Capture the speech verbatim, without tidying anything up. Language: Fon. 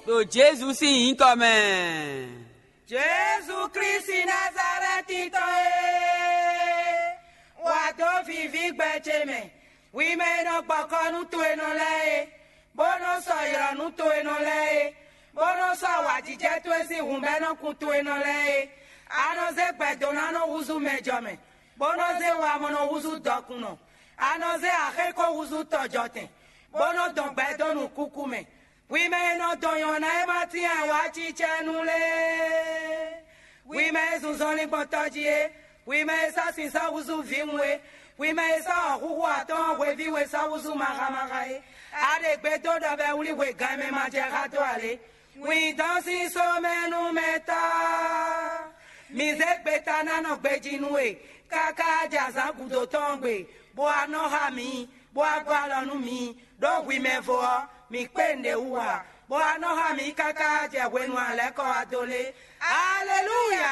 Ɖo Jezu sín nyǐkɔ mɛ. Jezu Klísu Nazalɛ́ti tɔn e, wǎ dó víví gbɛ ce mɛ. Hwi mɛ e nɔ gbɔ kɔ nú to e nɔ lɛ́ɛ é, bó nɔ́ sɔ́ ylɔ̌ nú to e nɔ lɛ́ɛ é, bó nɔ́ sɔ́ awǎjijɛ towe sín hǔnbɛ́nɔkun to e nɔ lɛ́ɛ é. A nɔ zé gbɛ̌dónánɔ húzú mɛjɔmɛ, bó nɔ́ zé wamɔnɔ húzú dɔkunnɔ. A nɔ zé axéko húzú tɔjɔtɛn, bó nɔ́ dɔn gbɛ dó nǔkúkú mɛ. Hwi mɛ e nɔ dɔn nyɔ̌ná e ma tín awǎcicɛnu lɛ́ɛ, hwi mɛ e zun zɔnlin gbɔn tɔjí é, hwi mɛ e sɔ́ sin sɔ́ húzú vǐwun é, hwi mɛ e sɔ́ wɔ̌xúxú atɔ́ɔ́n hweví we sɔ́ húzú maxa maxa é, a ɖe gbe dó ɖɔ bɔ é wlí hwe gan e mɛ ma jɛ xá dó ǎ lé. Wǐndɔn sín sómɛnúmɛtɔ́, mǐ zé gbeta ná nɔ gbejí nú we, káká jɛ azǎn gǔdo tɔn gbe, bó wá nɔ xá mǐ, bó wá gɔ́ alɔ nú mǐ, ɖó hwi mɛ vo ɔ́, mǐ kpé nǔɖé wú ǎ, bó wá nɔ xá mǐ káká jɛ hwenu alɛ̌kɔ wá dó lé. Aleluya!